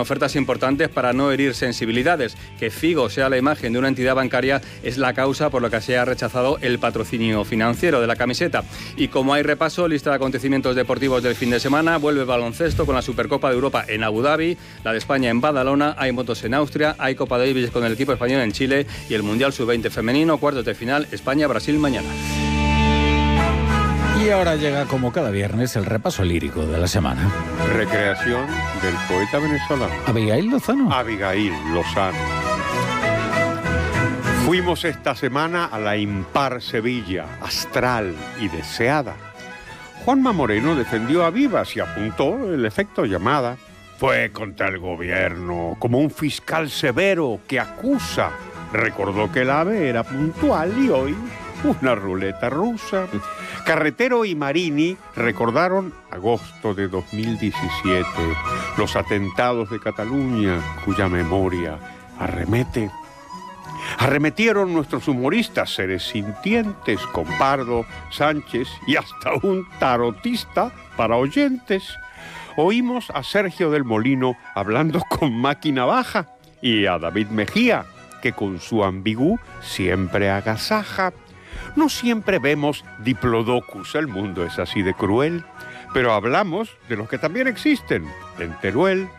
Ofertas importantes para no herir sensibilidades. Que Figo sea la imagen de una entidad bancaria es la causa por la que se ha rechazado el patrocinio financiero de la camiseta. Y como hay repaso, lista de acontecimientos deportivos del fin de semana, vuelve el baloncesto con la Supercopa de Europa en Abu Dhabi, la de España en Badalona, hay motos en Austria, hay Copa Davis con el equipo español en Chile y el Mundial Sub-20 femenino, cuartos de final, España-Brasil mañana. Y ahora llega, como cada viernes, el repaso lírico de la semana. Recreación del poeta venezolano. Abigail Lozano. Abigail Lozano. Fuimos esta semana a la impar Sevilla, astral y deseada. Juanma Moreno defendió a Vivas y apuntó el efecto llamada. Fue contra el gobierno, como un fiscal severo que acusa. Recordó que el AVE era puntual y hoy una ruleta rusa. Carretero y Marini recordaron agosto de 2017, los atentados de Cataluña, cuya memoria arremetieron nuestros humoristas, seres sintientes, con Pardo, Sánchez y hasta un tarotista para oyentes. Oímos a Sergio del Molino hablando con máquina baja y a David Mejía, que con su ambigú siempre agasaja. No siempre vemos diplodocus, el mundo es así de cruel, pero hablamos de los que también existen, en Teruel.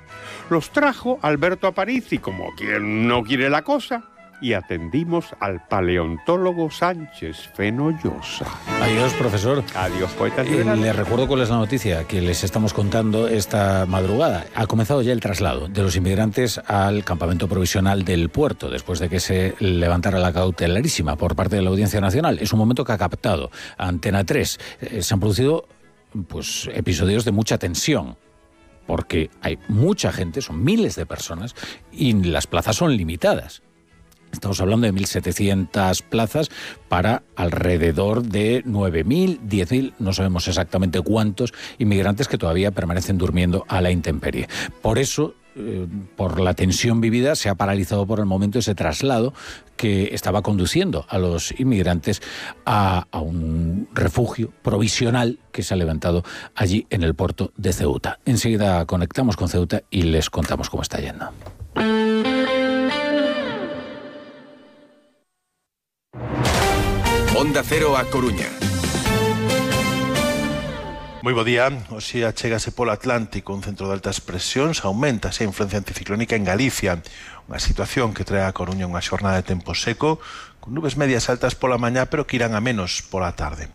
Los trajo Alberto Aparici, como quien no quiere la cosa, y atendimos al paleontólogo Sánchez Fenollosa. Adiós, profesor. Adiós, poetas liberales. Les recuerdo cuál es la noticia que les estamos contando esta madrugada. Ha comenzado ya el traslado de los inmigrantes al campamento provisional del puerto, después de que se levantara la cautelarísima por parte de la Audiencia Nacional. Es un momento que ha captado Antena 3. Se han producido episodios de mucha tensión, porque hay mucha gente, son miles de personas, y las plazas son limitadas. Estamos hablando de 1.700 plazas para alrededor de 9.000, 10.000, no sabemos exactamente cuántos inmigrantes que todavía permanecen durmiendo a la intemperie. Por eso, por la tensión vivida, se ha paralizado por el momento ese traslado que estaba conduciendo a los inmigrantes a un refugio provisional que se ha levantado allí en el puerto de Ceuta. Enseguida conectamos con Ceuta y les contamos cómo está yendo. Onda Cero a Coruña. Moi bo día. Hoxe achégase polo Atlántico un centro de altas presións, aumenta a influencia anticiclónica en Galicia, unha situación que trae a Coruña unha xornada de tempo seco, con nubes medias altas pola mañá, pero que irán a menos pola tarde.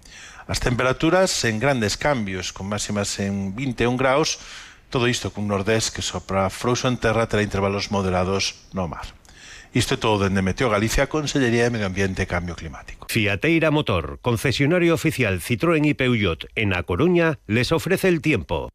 As temperaturas en grandes cambios, con máximas en 21 graus, todo isto cun nordés que sopra frouxo en terra terá intervalos moderados no mar. Isto é todo dende Meteo Galicia, Consellería de Medio Ambiente e Cambio Climático. Fiateira Motor, concesionario oficial Citroën y Peugeot en A Coruña, les ofrece el tiempo.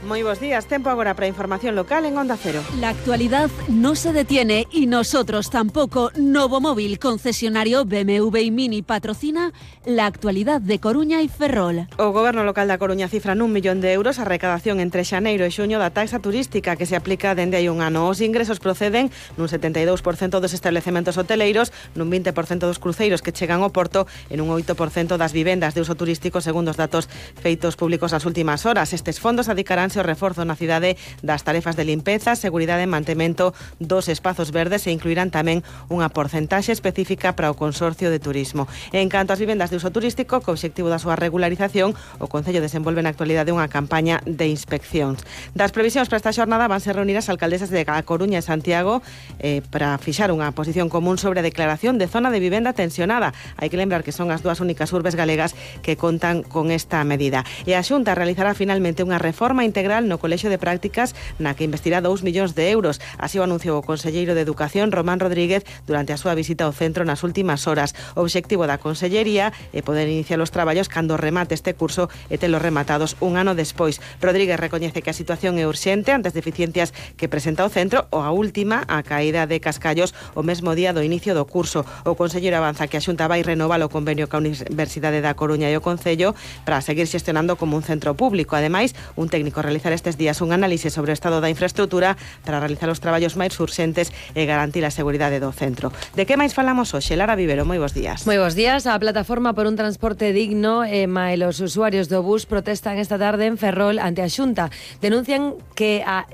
Muy buenos días, tiempo ahora para información local en Onda Cero. La actualidad no se detiene y nosotros tampoco. Novo Móvil, concesionario BMW y Mini, patrocina la actualidad de Coruña y Ferrol. O Goberno local da Coruña cifra nun 1 millón de euros a recadación entre xaneiro e xuño da taxa turística que se aplica dende hai un ano. Os ingresos proceden nun 72% dos establecementos hoteleiros, nun 20% dos cruceiros que chegan ao porto e nun 8% das vivendas de uso turístico, segundo os datos feitos públicos nas últimas horas. Estes fondos adicaránse ao reforzo na cidade das tarefas de limpeza, seguridade e mantemento dos espazos verdes e incluirán tamén unha porcentaxe específica para o Consorcio de Turismo. En canto ás vivendas de uso turístico, co obxectivo da súa regularización, o Concello desenvolve na actualidade unha campaña de inspeccións. Das previsións para esta xornada vanse reunir as alcaldesas de A Coruña e Santiago para fixar unha posición común sobre a declaración de zona de vivenda tensionada. Hai que lembrar que son as dúas únicas urbes galegas que contan con esta medida. E a Xunta realizará finalmente unha reforma integral no Colexio de Prácticas na que investirá 2 millóns de euros. Así o anunciou o conselleiro de Educación, Román Rodríguez, durante a súa visita ao centro nas últimas horas. O obxectivo da consellería é poder iniciar os traballos cando remate este curso e telos rematados un ano despois. Rodríguez recoñece que a situación é urxente ante as deficiencias que presenta o centro, ou a última, a caída de cascallos o mesmo día do inicio do curso. O conselleiro avanza que a Xunta vai renovar o convenio ca Universidade da Coruña e o Concello para seguir xestionando como un centro público. Ademais, un técnico realizar estes días un análise sobre o estado da infraestructura para realizar os traballos máis urxentes e garantir a seguridade do centro. De que máis falamos hoxe? Lara Vivero, moi bons días. Moi bons días. A plataforma por un transporte digno e os usuarios do bus protestan esta tarde en Ferrol ante a Xunta. Denuncian que a